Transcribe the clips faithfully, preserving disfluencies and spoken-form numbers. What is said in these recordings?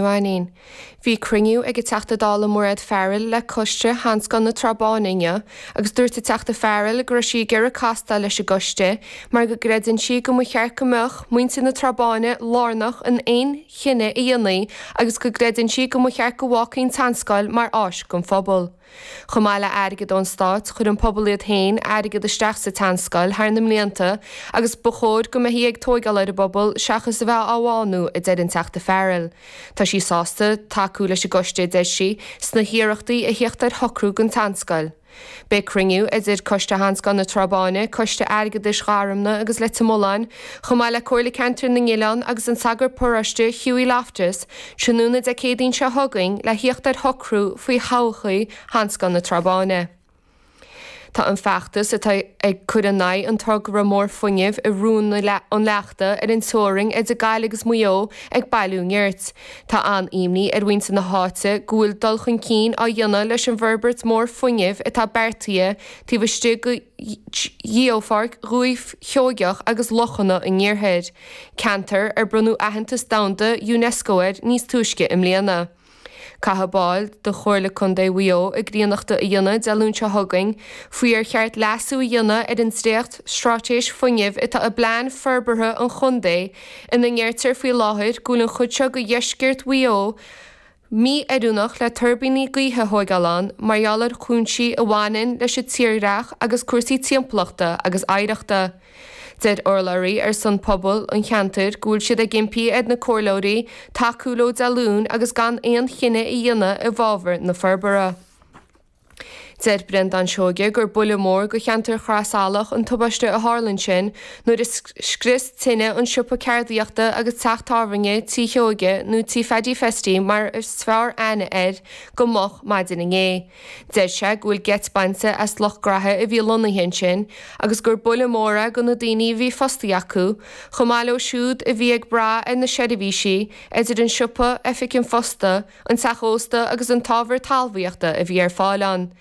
Mhainín. Bhí cruinniú ag an Teachta Dála Mairéad Farrell le coiste Sheanscoil na Trá Báine inniu agus dúirt an Teachta Farrell go raibh sí ag iarraidh castáil leis an gcoiste mar go gcreideann sí go mba cheart go mbeadh muintir na Trá Báine lárnach in aon chinneadh a dhéanfaí agus go gcreideann sí go mba cheart go bhfágfaí an tseanscoil mar áis don phobal. Chomh maith le airgead ón stát chuir an pobal iad féin airgead isteach sa tseanscoil thar na mblianta agus ba chóir go mbeifí ag tógáil ar an bpobal seachas a bheith á bhánú a deir an Teachta Farrell. Tá sí sásta tacú leis an gcoiste deir sí sna hiarrachtaí a theacht ar shocrú don tseanscoil. Beidh cruinniú idir Coiste Sheanscoil na Trá Báine, Coiste Airgeadais Gharumna agus Leitir Mealláin, chomh maith le Comhairle Ceantar na nOileán agus an sagart paróiste Hughie Loftus, tráthnóna Dé Céadaoin seo chugainn le theacht ar shocrú faoi thodhchaí Sheanscoil na Trá Báine. Tá an feachtas atá ag cur in aghaidh an togra mór fuinnimh i Rún an Leachta ar an teorainn idir Gaillimh agus Maigh Eo ag bailiú nirt. Tá an-imní ar mhuintir na háite go bhfuil dul chun cinn á dhéanamh leis an bhforbairt mór fuinnimh atá beartaithe taobh istigh de Gheopháirc Dhúiche Sheoigeach agus Lochanna an Iarthair, ceantar ar bronnadh aitheantas domhanda UNESCO air níos túisce i mbliana. Caithfidh baill de Chomhairle Contae Mhaigh Eo a gcríonnachta a dhéanamh Dé Luain seo chugainn faoi ar cheart leasú a dhéanamh ar an dréacht straitéis fuinnimh atá i bplean forbartha an chontae ina ndeirtear faoi láthair go bhfuil an chuid seo de dheisceart Mhaigh Eo mí-oiriúnach le tuirbíní gaoithe a thógáil ann mar gheall ar chúinsí a bhaineann leis an tírdhreach agus cúrsaí timpeallachta agus oidhreachta. Deir urlabhraí ar son pobal an cheantair go bhfuil siad ag impí ar na comhairleoirí tacú leo Dé Luain agus gan aon chinneadh a dhéanamh i bhfabhar na forbartha. Deir Breandán Seoige gur buille mór do cheantar Chraosalach an tubaiste a tharla ansin nuair a scrios tine an siopa ceardaíochta agus teach tábhairne Tí Sheoige nó Tí Phaddy Festy mar is fearr aithne air go moch maidin inné. Deir sé go bhfuil geit bainte as lucht graithe a bhí lonnaithe ansin agus gur buille mór é do na daoine a bhí fostaithe acu, chomh maith leo siúd a bhí ag brath ar na seirbhísí idir an siopa, oifig an phosta, an teach ósta agus an t-ábhar talmhaíochta a bhí ar fáil ann.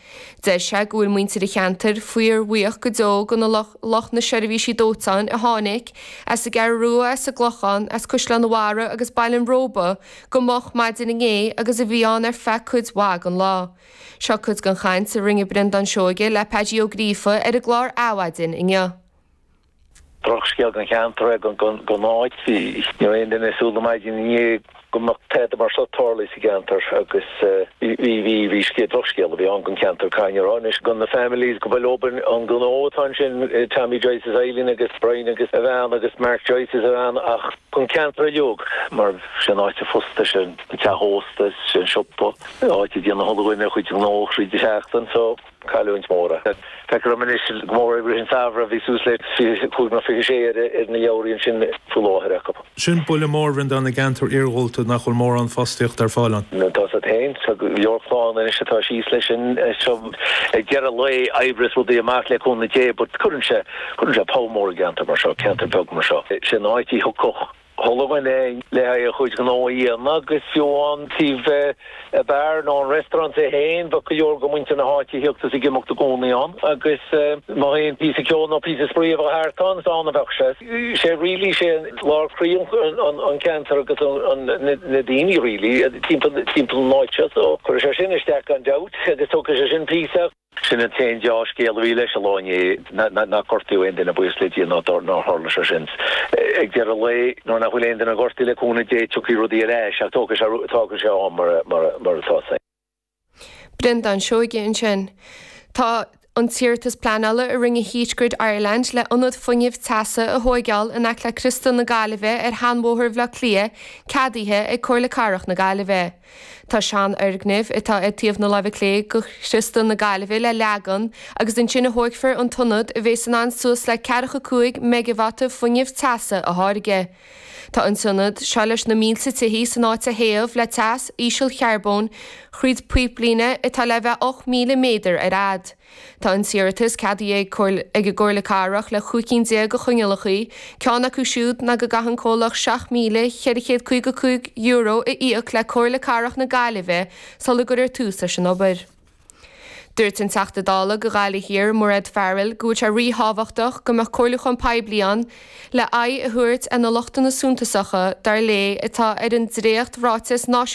Deir sé go bhfuil muintir an cheantair fíorbhuíoch go deo do na lucht na seirbhísí dóiteáin a tháinig as an gCeathrú Rua as an gClochán as Caisleán an Bharraigh agus Baile an Róba go moch maidin inné agus a bhí ann ar feadh cuid mhaith den lá. Seo cuid den chaint a rinne Breandán Seoige le Paddy Ó Gríofa ar an gclár Adhmhaidin inniu. Drochscéal don cheantar é don áit ní raibh aon duine ag súil le maidin inné go mbeadh tada mar seo tarlaithe sa gceantar agus bhí bhí bhí scéal drochscéal a bhí ann don cheantar caithfidh mé a rá anois do na families go bhfuil obair an gnó atá ansin Tommy Joyce is Eileen agus Brian agus a bhean agus Mark Joyce is a bhean ach don cheantar uilig mar sin áit a fosta sin an teach ósta sin siopa áit a dhéanann chuile dhuine a chuid gnó thríd an seachtain so cailliúint mór é. Feictear dom anois go mór i rith an tsamhraidh bhí suas le fiche cúig nó fiche sé ar ar na leabhraí ansin faoi láthair acu. Sin buille mór Bhreandán i gceantar iargúlta nach bhfuil mórán fostaíocht ar fáil ann. Tá siad féin, tá go leor clann anois atá síos leis sin seo ag deireadh lae oibre is rudaí amach le cúnamh Dé but cuireann sé cuireann sé poll mór i gceantar mar seo, ceantar beag mar seo. Sin áit a thiocfadh chuile dhuine le haghaidh a chuid gnó a dhéanamh agus fiú an taobh beár nó an restaurant é féin bheadh go leor de mhuintir na háite ag tíocht is ag imeacht i gcónaí ann agus má théann píosa ceoil nó píosa spraoi a bheadh thart ann is ann a bheadh sé. Sé really sé lár croí an ceantar agus na daoine really timpeall timpeall an áit seo so cuirfidh sé sin isteach gan dabht agus tógfaidh sé sin píosa. Sin an t-aon deá-scéal a bhí leis an lá inné, nár gortaíodh aon duine, buíochas le Dia nár tharla sé sin. Ag deireadh an lae, nuair nach bhfuil aon duine gortaithe le cúnamh Dé, tiocfaidh rudaí ar ais ach tógfaidh sé, tógfaidh sé am mar atá sé. Breandán Seoige ansin. Tá an t-iarratas pleanála a rinne Heat Grid Ireland le ionad fuinnimh teasa a thóigeáil in aice le Criostal na Gaillimhe ar Sheanbhóthar Bhaile Átha Cliath ceadaithe ag Comhairle Cathrach na Gaillimhe. Tá seanfhoirgneamh atá ar taobh na láimhe clé de Chriostal na Gaillimhe le leagan agus ansin a thógfar an t-ionad a bheas in ann suas le ceathracha cúig meigeavata fuinneamh teasa a tháirgeadh. Tá an t-ionad seo leis na mílte tithí san áit a théamh le teas ísealcharbóin thríd píblíne atá le bheith ocht míle méadar ar fhad. Tá an t-iarratas ceadaithe ag an gComhairle Cathrach le cúig cinn déag de choinníollacha, ceann acu siúd ná go gcaithfidh an comhlacht seacht míle cheithre chéad caoga cúig euro a íoc le Comhairle Cathrach na Gaillimhe sula gcuirfear tús leis an obair. Dúirt an Teachta Dála do Ghaillimh Thiar Mairéad Farrell go bhfuil sé ríthábhachtach go mbeadh comhairliúchán poiblí ann le aghaidh a thabhairt ar na lochtanna suntasacha dar léi atá ar an dréacht ráiteas náisiúnta